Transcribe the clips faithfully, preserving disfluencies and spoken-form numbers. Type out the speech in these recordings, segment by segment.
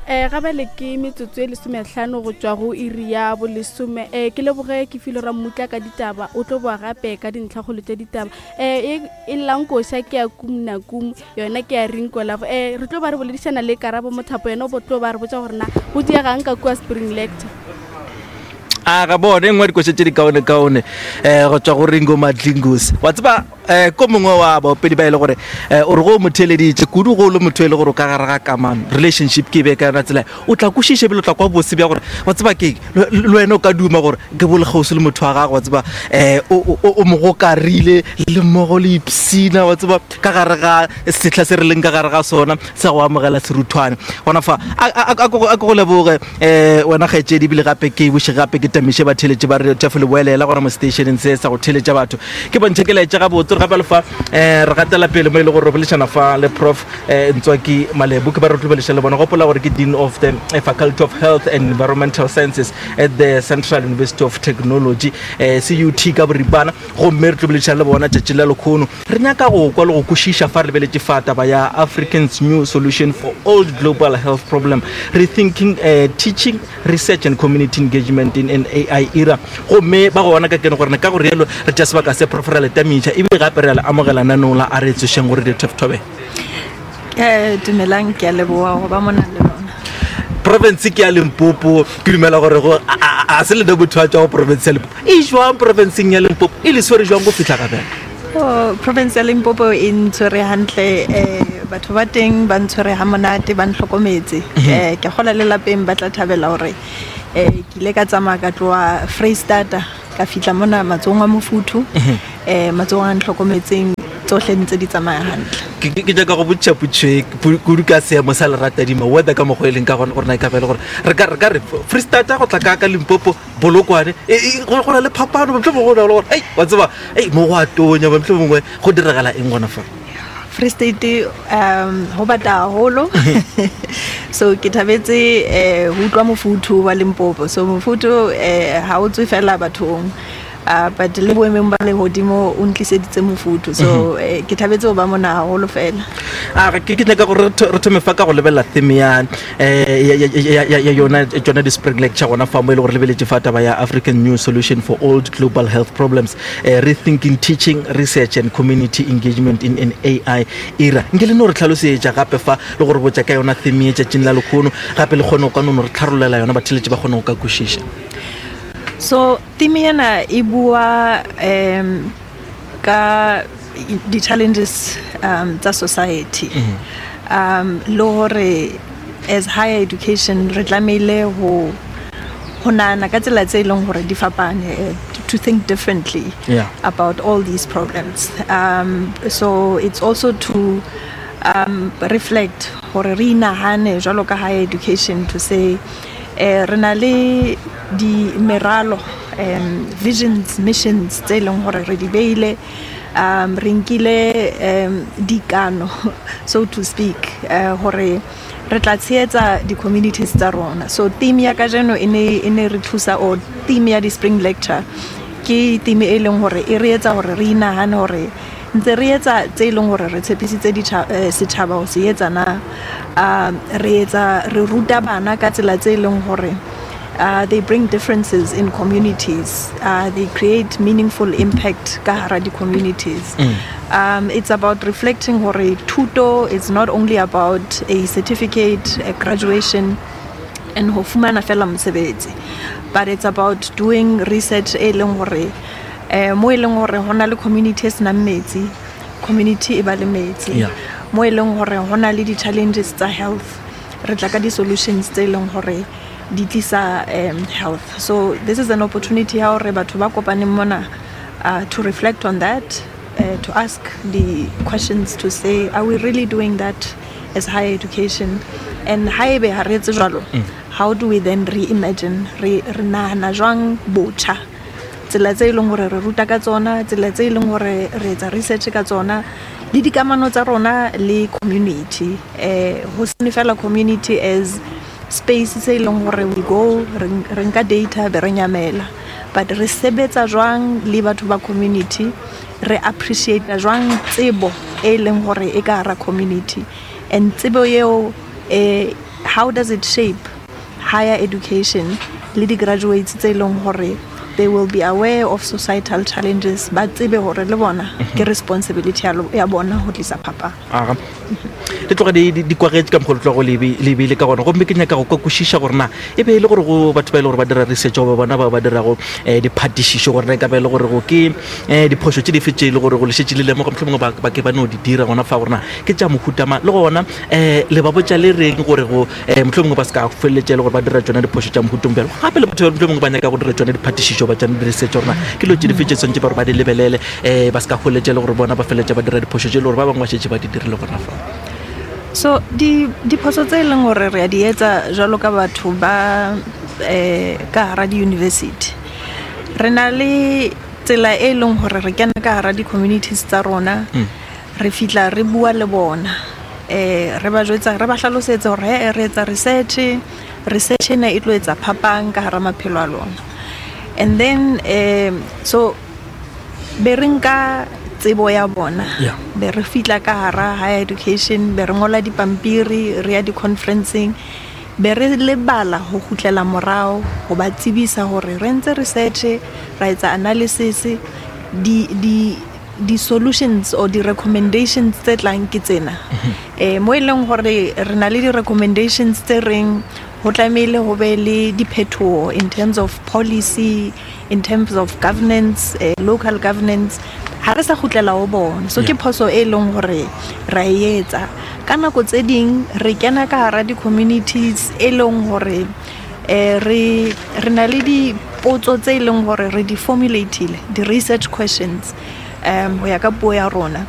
Um ga bjale ke metsotso e lesomehlano go tšwa go iri ya bolesome. Um ke leboge ke file Rammutla ka ditaba, o tlo boa gape ka dintlhakgolo tša ditaba. Um e llang koša ke ya Kumna Kum, yona ke ya Rinko Love. Um re tlo ba re boledišana le Karabo Mothapo, yena o tlo ba re botša gore na go diegang ka kua Spring Lecture. A ga bone e nngwe dikoša tše di kaone-kaone um go tswa go Ringo Madlingozi. Wa tseba, um ko mongwe wa baopedi ba e le gore um o re go o mo theeleditše kudu, go o le motho e le gore o ka gare ga kamano, relationship, ke e be ka yona tsela, o tla kwešiša ebile o tla kwa bose bja gore, wa tseba keng, le wena o ka duma gore ke bo le kgauswi le motho wa gago, wa tseba, um o mo gokarile le mmogo le ipsina, wa tseba, ka gare ga sehla se re leng ka gare ga sona sa go amogela seruthwane gona fa. A ke go leboge um wena kgaetšedi, ebile gape ke boše gape ke tamiše batheeletše ba re tšafo le boelela gona mo stationeng se sa go theeletša batho. Ke bontšhe ke laetša gabotse gore gape le fa um re gatela pele mo e le gore re boledišana fa le Prof um Ntswaki Malebo, ke ba re tlo bolediša le bona. Gopola gore ke Dean of the Faculty of Health and Environmental Sciences at the Central University of Technology, um C U T ka boripana. Gomme re tlo boledišana le bona tšatši la lekgono, re nyaka go kwa le go kwešiša fa re lebeletše fa taba ya Africans New Solution for Old Global Health Problem, Rethinking uh, Teaching, Research and Community Engagement in an A I Era. Gomme ba gona ka kene gore ka go rialo re tša sebaka se, Prof, ra le tamiša ebile gape re a le amogela nanong la a re tsošeng gore di thobela. um dumelang ke a leboa go ba mona le lona. Province ke ya Limpopo, ke dumela gore go a se lene motho a tswa go province ya Limpopo. E jwang provinceng ya Limpopo, e le swere jwang go fitlha gabjale? Oh, province ya Limpopo e ntshwere hantle. um batho ba teng ba ntshwere ha monate, ba ntlhokometse. um ke gola le lapeng ba tla thabela gore um ke ile ka tsamaya ka tloa Freistata, ka fitlha mona matsogong a mofuthu, um matsogong a ntlhokometseng, tsohle ntse di tsamaya hantle. Ke nyaka go botša potšo kudu ka seemo sa leratadima, weather ka mokgwa e leng ka gona, gore na e ka ba e le gore re ka re ka re Freistata go tla ka ka Limpopo, Polokwane, go na le phapano? Motlho mongwe go na le gore, ei, wa tseba, ei, mo go a tonya, motlho mongwe go diragala eng gona fa? Free State um ho bata haholo, so ke thabetse eh ho utlwa mofuthu wa Limpopo. So mofuthu eh ha o tswe fela bathong, uh, but le boemong ba lehodimo o ntliseditse mofuthu. So eh, ke thabetse ho ba mona haholo fela. A ke ke nyaka gore re thome fa ka go lebelela theme ya ya yona tsona di-spring lecture gona fa mo e le gore lebeletše fa taba ya African New Solution for Old Global Health Problems, uh, Rethinking Teaching, Research and Community Engagement in an A I Era. Nke le no re tlhalosetša gape fa le gore botša ka yona theme e tšatšing la lekgono, gape le kgone go ka nono re tlharollela yona, batheletše ba kgone go ka kwešiša. So theme ena e bua um ka di-challenges um tsa society, um le hore as higher education re tlamehile ho ho nahana ka tsela tse e leng hore di fapane, eh, to think differently Yeah. about all these problems. um so it's also to um reflect hore re inahane jwalo ka higher education to say eh re na le di meralo, um visions, missions tse leng hore re di beile, um re nkile um dikano, so to speak, uh, hore re tla tshehetsa di-communities tsa rona. So theme ya kajeno e ne e ne re thusa, or theme ya di-spring lecture ke theme e leng hore e re etsa hore re inahane hore ntse re etsa tse e leng hore re tshepisitse ditjha- eh, setjhaba ho se etsa na. um re etsa, re ruta bana ka tsela tse e leng hore uh, they bring differences in communities, uh, they create meaningful impact ka hara di-communities. um, it's about reflecting hore thuto is not only about a certificate, a graduation and ho fumana fela mosebetsi, but it's about doing research e leng hore eh mo e leng hore ho na le community e senang metsi, community e ba le metsi. Yeah. Mo e leng hore ho na le di-challenges tsa health, re tla ka di-solutions tse e leng hore di tlisa um health. So this is an opportunity ya hore batho ba kopaneng mona uh, to reflect on that, uh, to ask the questions, to say, are we really doing that as higher education? And haebe ha re etse jwalo, how do we then reimagine, re re nahana jwang botjha tsela tse e leng hore re ruta ka tsona, tsela tse e leng hore re etsa research ka tsona, le dikamano tsa rona le community, eh ho sene fela community as space se e leng hore we go re re nka data be re nyamela, but re sebetsa jwang le batho ba community, re appreciate jwang tsebo e leng hore e ka hara community, and tsebo eo eh ha How does it shape higher education le di-graduates tse e leng gore they will be aware of societal challenges, ba tsebe gore le bona ke responsibility ya lo- ya bona go tlisa phapang. Aga, di tloga di di- di kwagetše ka mokgwa le tlogo le ebile ka gona, gomme ke nyaka go ka kwešiša gore na e be e le gore go batho ba e le gore ba dira research goba bona ba ba dirago um diphatišišo, gore na e ka ba e le gore go ke um diphošo tše dife tše e le gore go le šetše le lemoga mohlomongwe ba ba ke ba no di dira gona fa, gore na ke tša mohutama, le gona um le ba botša le reng gore go um mohlomongwe ba se ka feleletša e le gore ba dira tšona diphošo tša mohutong bjalo. Gape le batho ba mohlomongwe ba nyaka go dira tšona diphatišišo ba tšona di-research, gore na ke dilo tše dife tše tshwanetse ba gore ba di lebelele um ba se ka feleletša e le gore bona ba feleletša ba dira diphošo tše e le gore ba bangwe ba šetše ba di dirile gona fa. So di diphoso tse e leng gore re a di etsa jwalo ka batho ba eh ka hara di-university, re na le tsela e leng gore re kena ka hara di-communities tsa rona, re fihla re bua le bona, eh re ba jwetsa, re ba hlalosetsa hore he re etsa research, research ena e tlo etsa phapang ka hara maphelo a lona. And then um so be re nka tsebo ya bona, Yeah. be re fihla ka hara higher education, be re ngola dipampiri, re ya di-conferenceng, be re lebala ho kgutlela morao ho ba tsebisa hore re ntse research, ra etsa analysis, di di di-solutions or di-recommendations tse tlang ke tsena. Eh mo e leng hore re na le di-recommendations tse reng ho tlamehile ho be le diphetoho in terms of policy, in terms of governance, eh, local governance, ha re sa kgutlela ho bona. So ke Yeah. phoso e leng hore ra e etsa. Ka nako tse ding re kena ka hara di-communities e leng hore eh re re na le dipotso tse e leng hore re di formulate-ile, di-research questions, um ho ya ka puo ya rona,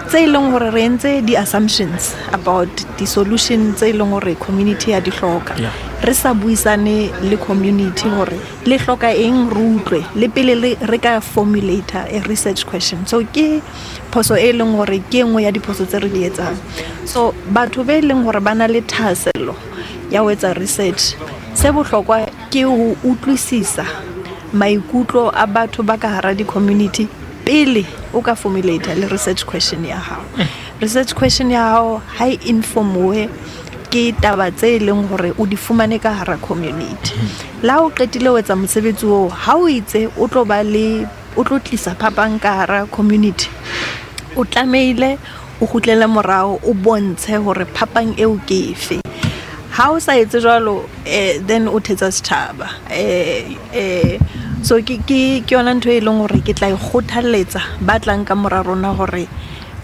tse e leng hore re entse di-assumptions about di-solution tse e leng hore community ya di hloka. Yeah. Re sa buisane le community hore le hloka eng, re utlwe le pele le re ka formulate a research question. So ke phoso e leng hore ke e nngwe ya diphoso tse re di etsang. So batho be leng hore ba na le thahasello ya ho etsa research, se bohlokwa ke ho utlwisisa maikutlo a batho ba ka hara di-community pele o ka formulate le research question ya hao. Research question ya hao ha e informuwe ke taba tse e leng hore o di fumane ka hara community. La o qetile ho etsa mosebetsi oo, ha o itse o tlo ba le, o tlo tlisa phapang ka hara community, o tlamehile o kgutlele morao, o bontshe hore phapang eo ke efe. Ha o sa etse jwalo, eh then o thetsa setjhaba. Eh eh so ke ke ke yona ntho e leng hore ke tla e kgothalletsa ba tlang ka mora rona hore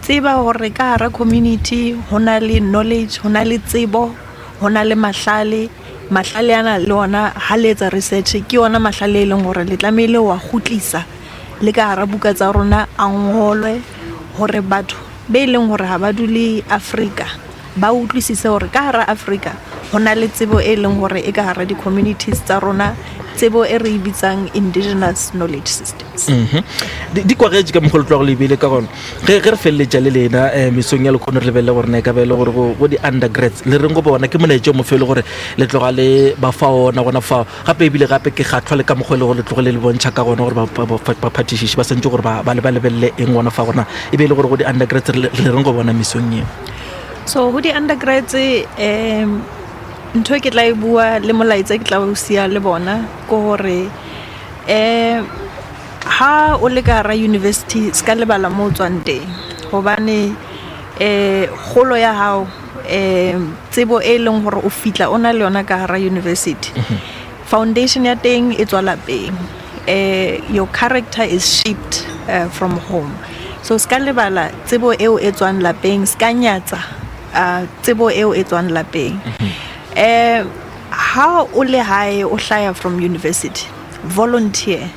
tseba hore ka hara community ho na le knowledge, ho na le tsebo, ho na le mahlale. Mahlale ana le ona ha le etsa research ke yona mahlale e leng hore le tlamehile wa kgutlisa le ka hara buka tsa rona a ngolwe hore batho be leng hore ha ba dule Afrika ba utlwisise hore ka hara Afrika ho na le tsebo e leng hore e ka hara di-communities tsa rona, tsebo e re e bitsang indigenous knowledge systems. Mhm. Di di kwagetše ka mokgwa le tlogo le ebile ka gona. Ge ge re feleletša le lena um mesong ya lekgono, re lebelele gore na e ka ba e le gore go go di-undergrads le reng go bona ke molaetša o mofe e le gore le tloga le ba fa ona gona fao. Gape ebile gape ke kgatlhwa le ka mokgwa e le gore le tloge le le bontšha ka gona gore ba- ba- ba- baphatišiši ba swantse gore ba ba le ba lebelele eng gona fa, gona e be e le gore go di-undergrads re le le reng go bona mesong eo. So ho di-undergrads, um ntho e ke tla e bua le molaetsa ke tla o siya le bona ke hore um ha o le ka hara university se ka lebala mo o tswang teng, hobane eh kgolo ya hao, um tsebo e leng hore o fitla o na le yona ka hara university, foundation ya teng e tswa lapeng. Eh your character is shaped uh, from home. So se ka lebala tsebo eo e tswang lapeng, se ka nyatsa uh, tsebo eo e tswang lapeng. Eh ha o le hae o hlaya from university, volunteer,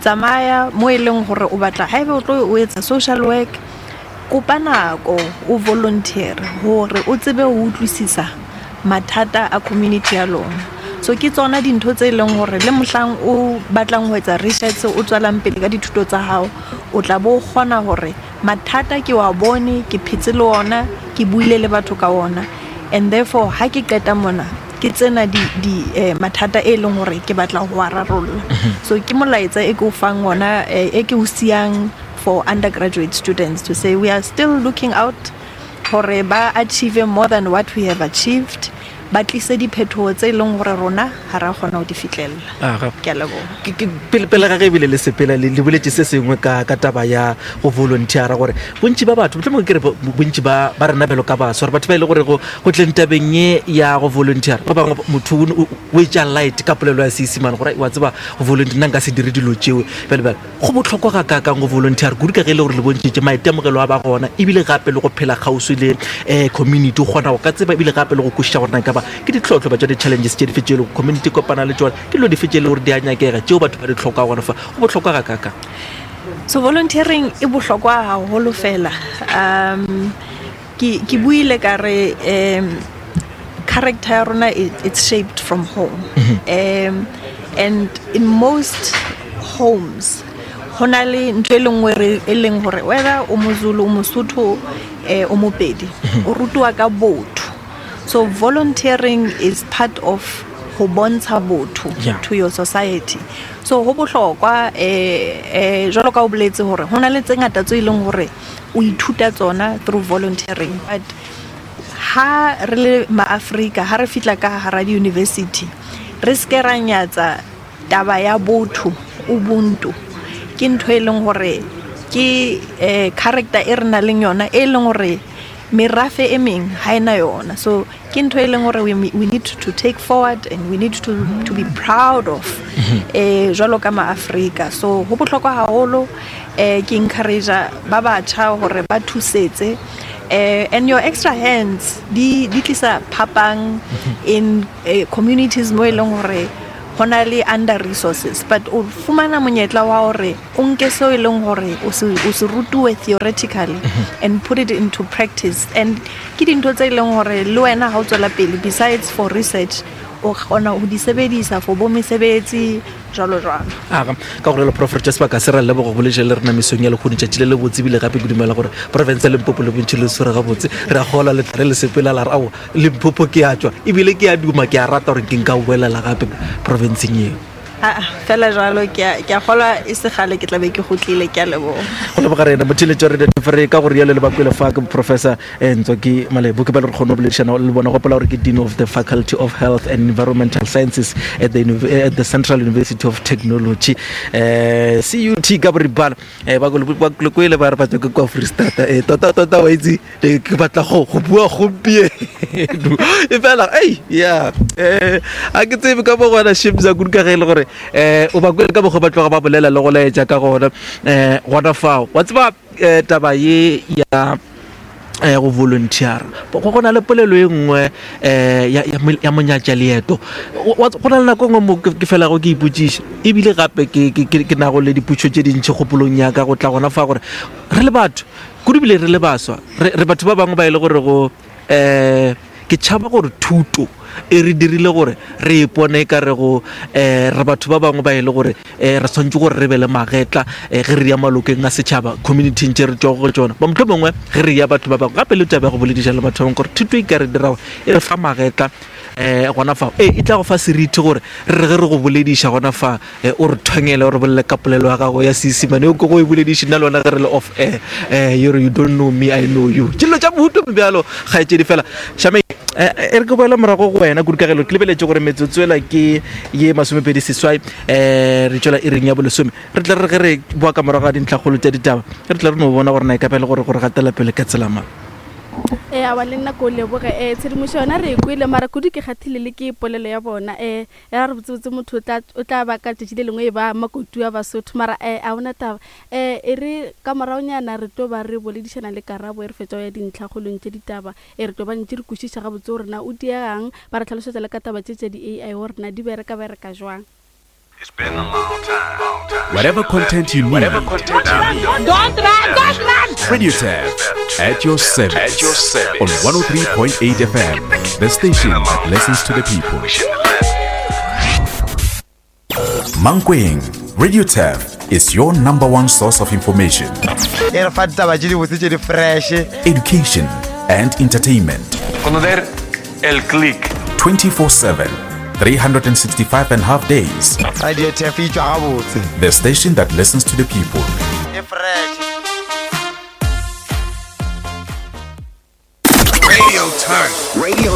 tsamaya mo e leng hore o batla, haeba o tlo o etsa social work, kopa nako o volunteer hore o tsebe ho utlwisisa mathata a community ya lona. So ke tsona dintho tse leng hore le mohlang o batlang ho etsa research, o tswelang pele ka dithuto tsa hao, o tla bo kgona hore mathata ke wa bone, ke phetse le ona, ke buile le batho ka ona, and therefore ha ke qeta mona ke tsena di, di eh, mathata e leng hore ke batla ho a rarolla. So ke molaetsa e ke o fang ona, eh, e ke o siyang for undergraduate students to say we are still looking out. Hore ba achieve more than what we have achieved. Ba tlise diphetoho tse leng hore rona ha ra kgona ho di fihlella. Aga. Ke a leboha. Ke- ke- pele pele ga ge ebile le sepela le le boletse se sengwe ka ka taba ya go volunteera gore bontši ba batho mohlomongwe ke re bo- bontši ba ba rena bjalo ka baswa gore batho ba e le gore go go tleng tabeng ye ya go volunteera ba bangwe motho o- o o etša light ka polelo ya Seesemane gore wa tseba go volunteer nna nka se dire dilo tšeo bjale bjale go bohlokwa ga kaakang go volunteer kudu ka ge e le gore le bontšhitše maitemogelo a ba gona ebile gape le go phela kgauswi le um community o kgona go ka tseba ebile gape le go kwešiša gore na e ka ba ke ditlhohlo ba tša di-challenges tše dife tše e lego community kopana le tšona ke dilo dife tše e le gore di a nyakega tšeo batho ba di tlhoka gona fa go bohlokwa ga kaakang So volunteering e bohlokwa haholo fela. Um ke ke buile ka re um character ya rona it, it's shaped from home. Um and in most homes ho na le ntho e le nngwe re e leng hore whether o Mozulu o Mosotho eh o Mopedi o rutiwa ka botho. So volunteering is part of ho bontsha botho Yeah. to your society. So ho bohlokwa eh eh jwalo ka o boletse hore ho na le tse ngata tse e leng hore o ithuta tsona through volunteering but ha re le maAfrika ha re fihla ka hara di-university re ske ra nyatsa taba ya botho ubuntu ke ntho e leng hore ke eh character e re nang le yona e leng hore merafe e meng ha ena yona so ke ntho e leng hore we, we need to take forward and we need to, to be proud of eh jwalo ka maAfrika so ho bohlokwa haholo eh ke encourage ba batjha hore ba thusetse eh and your extra hands di di tlisa phapang in eh, communities mo e leng hore ho na le under resources but o fumana monyetla wa hore o nke seo e leng hore o se o se rutuwe theoretically and put it into practice and ke dintho tse e leng hore le wena ha o tswela pele besides for research o kgona ho di sebedisa for bo mesebetsi jwalo jwalo aga ka gore le prof re tša sebaka se ra leboga boletše le rena mesong ya lekgono tšatši le le botse ebile gape ke dumela gore province ya limpopo le bontši le swere gabotse re a gola le tla re le sepela la re ao limpopo ke a tšwa ebile ke a duma ke a rata gore ke nka boelela gape provinceng eo aa fela jwalo ke a ke a kgolwa e se kgale ke tla be ke kgutlile ke a leboha go leboga rena motheletši wa radio re ka gore rialo le bakwele fa ke professor eh, Ntsoaki Malebo ke ba le re kgone go boledišana le bona gopola gore ke dean of the faculty of health and environmental sciences at the, Univ- at the central university of technology eh cut ka boripana eh ba ba kwele ba re ba tswa ke kwa freestata eh tota tota wa itse eh, ke batla go go bua gompieno e fela ei ya eh a ke tsebe ka mo gona shimza kudu ka ge e le gore eh o ba kwele ka mokgwa ba tloga ba bolela le go laetša ka gona eh gona fao wa tseba eh, taba ye ya eh go volunteer go go na le polelo e nngwe eh ya ya mo- ya monyatša leeto Wa- wa- go na le nako e nngwe mo ke ke felago ke ipotšiša ebile gape ke ke- ke ke nago le dipotšo tše dintšhi kgopolong ya ka go tla gona fa gore re le batho kudu bile re le baswa re re batho ba bangwe ba e le gore go eh ke tšhaba gore thuto e re dirile gore re ipone ka re go um re batho ba bangwe ba e le gore um re tshwanetse gore re be le magetla um ge re ya malokeng a setšhaba communityng tše re tšwago go tšona ba motlho mongwe ge re ya batho ba bangwe gape le taba ya go bolediša le batho ba bangwe gore thuto e ka re dira gore e re fa magetla um gona fa e e tla go fa seriti gore re re ge re go bolediša gona fa eh, o re thongele o re bolele ka polelo ya gago ya seesemane o ke go e bolediše nna le wena ge re le off air um you re you don't know me i know you ke dilo tša mohuto bjalo kgaetšedi fela shame e re ke boela morago go wena kudu ka gelo ke lebeletse gore metsotso ela ke ye masomepedi seswai um re tswela e reng ya bolesome re tla re ge re boa ka morago ga dintlhakgolo tša ditaba re tla re no bona gore na e ka ba e le gore gore gatela pele ka tsela mang ee awa le nna ko o leboge um tshedimošo yona re e kwele mara kudu ke kgathile le ke polelo ya bona um ya re botsebotse motho o tla- o tla ba ka tšatši le lengwe e ba makotu a basotho mara um a ona taba um e re ka moraonyana re tlo ba re boledišana le karabo e re fetsa go ya dintlhakgolong tše ditaba e re tlo ba ntše re kwešiša gabotse gore na o diegang ba re tlhalosetsa le ka taba tše tša di-ai gore na di bereka bereka jwang It's been a long time. Long time. Whatever content you need, Whatever content you need. Don't run, don't run! Radio Tap at your service. At your service. On one oh three point eight F M, the station that listens to the people. We shouldn't have left. Mankweng, Radio Tap is your number one source of information, e re fa ditaba tše dibotse tše di fresh education, and entertainment. Conocer el click. twenty-four seven, three hundred sixty-five and a half days. Radio Tap e tšwa gabotse The station that listens to the people. e fresh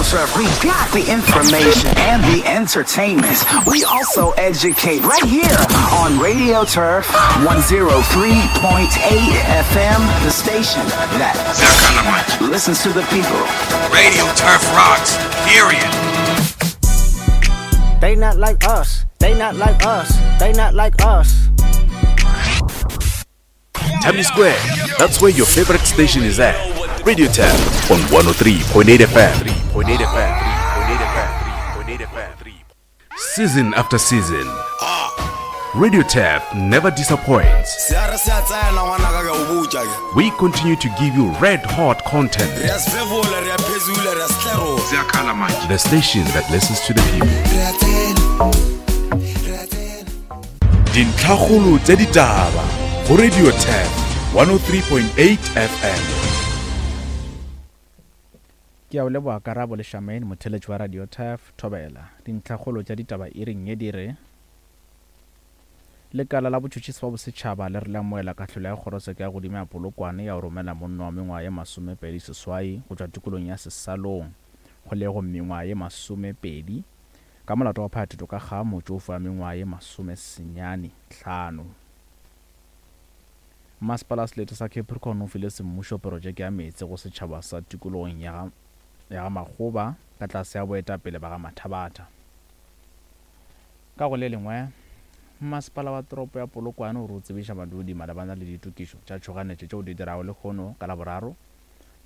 Turf, we got the information and the entertainment. We also educate right here on Radio Turf one oh three point eight F M, the station that listens to the people. Radio Turf rocks, period. They not like us. They not like us. They not like us. Tammy Square, that's where your favorite station is at. Radio Turf on one oh three point eight F M. Season after season, Radio Turf never disappoints. We continue to give you red hot content. The station that listens to the people. Dintlhakgolo tsa ditaba go Radio Turf one oh three point eight F M. Ke a o leboga Karabo le Shamaine, motheletši wa Radio Turf Thobela. Dintlhakgolo tša ditaba e reng ye di re lekala la botšhotšhisi ba bosetšhaba le re le amoela kahlolo ya kgorotsheko ya godimo ya Polokwane ya go romela monna wa mengwaga ye masomepedi seswai go tšwa tikolong ya Sesalong kgolegong mengwaga ye masomepedi ka molato wa phathetho ka ga motšofe wa mengwaga ye masomesenyane hlano. Masepala selete sa Capricorn o file semmušo projeke ya meetse go setšhaba sa tikologong ya ga Makgoba ka tlase ya boetapele ba ga Mathabatha. Ka go le lengwe, masepala wa toropo ya Polokwane o re o tsebiša badudi malebana le ditokišo tša tšhoganetšo tšeo di dirago lehono ka Laboraro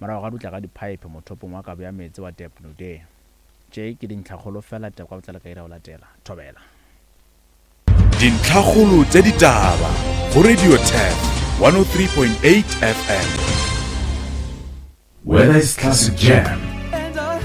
morago ga dutla ga diphaephe mothopong wa kabo ya meetse wa Depnude. Tše ke dintlhakgolo fela taba ka botlalo ka ira go latela. Thobela. Dintlhakgolo tša ditaba go Radio Turf one oh three point eight F M. Whether it's classic jam,